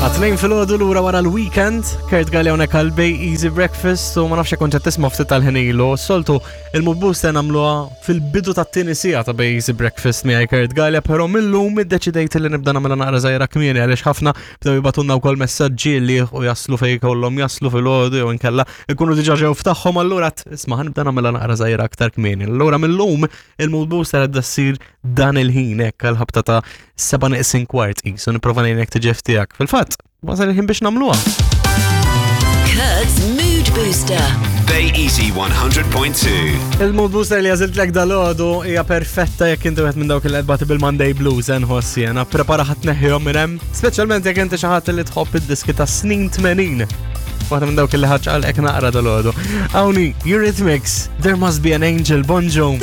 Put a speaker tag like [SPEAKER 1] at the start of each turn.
[SPEAKER 1] Għatnejn fil-ħodu l-ura wara l-weekend, Kurt Galli hawnhekk għal Bay Easy Breakfast u ma nafx kont qed tisma' ftit tal-ħin ilu. Soltu il-mood booster nagħmluha fil-bidu tat-tieni siegħa ta' Bay Easy Breakfast miegħi Kurt Gallia, però millum iddeċidejt li nibda nagħmilha naqra żgħira kmieni għaliex ħafna bdew jibatunna wkoll messaġġi li u jaslu fejn kollhom jaslu fil-ħodu jew inkella ikunu diġà ġew f'tagħhom allura isma' ħanibda nagħmilha naqra żgħira aktar kmieni. Allura millum il-mood booster għadda ssir dan il-ħin hekk għal-ħabta ta' 7 neqsin kwart qisu nipprova ngħinek tiġi tiegħek. Fil-fatt, wasal il-ħin biex nagħmluha.
[SPEAKER 2] Kurt's Mood Booster.
[SPEAKER 3] Bay Easy 100.2.
[SPEAKER 1] Il-mood booster li għażiltlek dal-għodu hija perfetta jekk inti wieħed minn dawk il qed bil-Monday Blues eh, nħoss jiena. Prepara ħadd neħħihom minn hemm, speċjalment jekk inti xi ħadd li tħobb id-diski ta' snin 80. Waħda minn dawk li ħaġ għal naqra dal-għodu. Awni, Eurythmics, There Must Be an Angel, Bonġu.